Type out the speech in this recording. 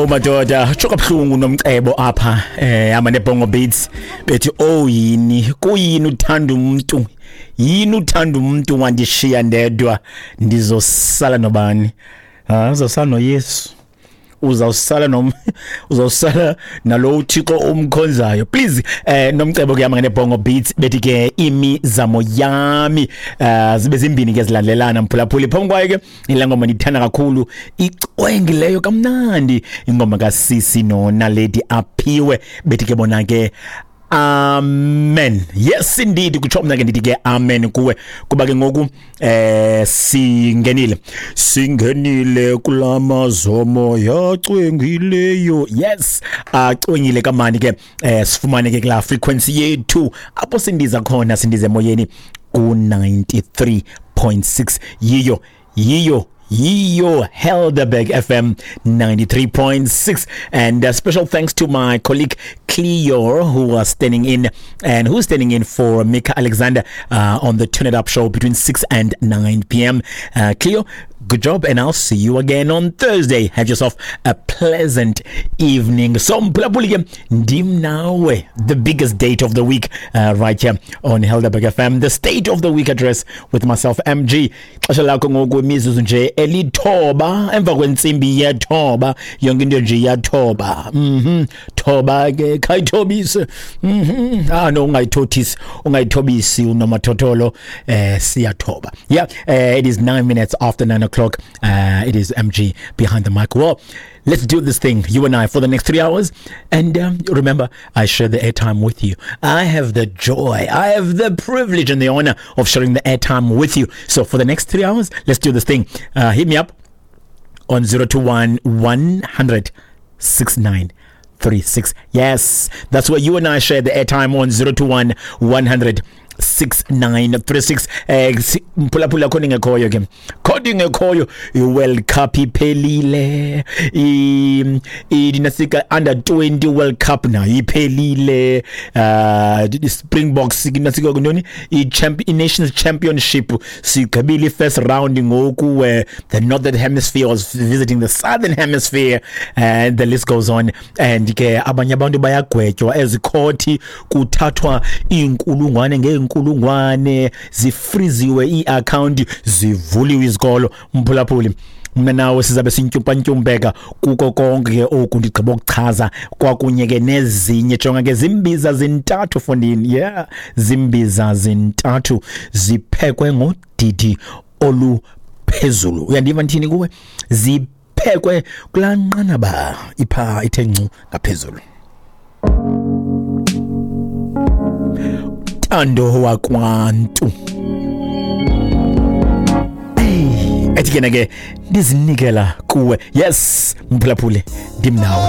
Oh madoda, tsho kabuhlungu nomcebo apha hamba nebongo beats bethi oh yini kuyini uthanda umuntu, yini uthanda umuntu wandishiya ndedwa, ndizosala nobani? Ah, uzosala noYesu, uzawusala nom uzawusala nalo uThixo umkhonzayo. Please nomcebo kuyama ngebongo beats bethi ke imizamo yami zibe zimbini ke zilandelana mphulaphuli. Phambi kwayo ke ile ngoma ndiyithanda kakhulu, icwengileyo kamnandi, ingoma kaSisi noNaledi Aphiwe bethi ke bona ke amen. Yes indeed, kutsho mna ke ndithi ke amen kuwe, kuba ke ngoku singenile kulamazomo yacwengileyo. Yes, acwengile kamani ke sifumane ke kula frequency yethu apho sindiza khona, sindiza emoyeni ku 93.6. Yiyo yiyo yiyo Helderberg FM 93.6. And special thanks to my colleague Cleo, who was standing in and who's standing in for Mika Alexander on the Turn It Up show between 6 and 9 p.m. Cleo, good job, and I'll see you again on Thursday. Have yourself a pleasant evening. So mphulaphuli ke ndim nawe, the biggest date of the week right here on Helderberg FM, the state of the week address with myself MG. Xesha lakho ngoku imizuzu nje elithoba emva kwentsimbi yethoba, yonke into nje iyathoba. Thoba ke khayithobise. Ah no, ungayithothisi, ungayithobisi unomathotholo, siyathoba. Yeah, it is 9 minutes after 9 o'clock. It is MG behind the mic. Well, let's do this thing, you and I, for the next 3 hours. And remember, I share the airtime with you. I have the joy, I have the privilege and the honor of sharing the airtime with you. So for the next 3 hours, let's do this thing. Hit me up on 021 100 6936. Yes, that's where you and I share the airtime on 021 100 6936. Mphulaphula, khona ingekhoyo ke, khona ingekhoyo i-World Cup iphelile, inasika under 20 World Cup nayo iphelile, Springboks nasika ntoni, i-Nations Championship sigqibile i-first round ngoku, where the Northern Hemisphere was visiting the Southern Hemisphere, and the list goes on. And ke abanye abantu bayagwetywa ezikhothi, kuthathwa iinkulungwane ngeenkulungwane, zifriziwe ii-akhawunti, zivuliwe izikolo. Mphulaphuli, mna nawe sizabe sintyumpantyumpeka kuko konke ke oku ndigqiba ukuchaza, kwakunye ke nezinye. Jonga ke, zimbiza zintathu fondini, yeah, zimbiza zintathu ziphekwe ngodidi oluphezulu. Uyandiva ndithini kuwe? Ziphekwe kulaa nqanaba ipha ithe ncu ngaphezulu. Tando wakwantu ethi ke ke ndizinikela kuwe. Yes mphulaphuli, ndim nawe.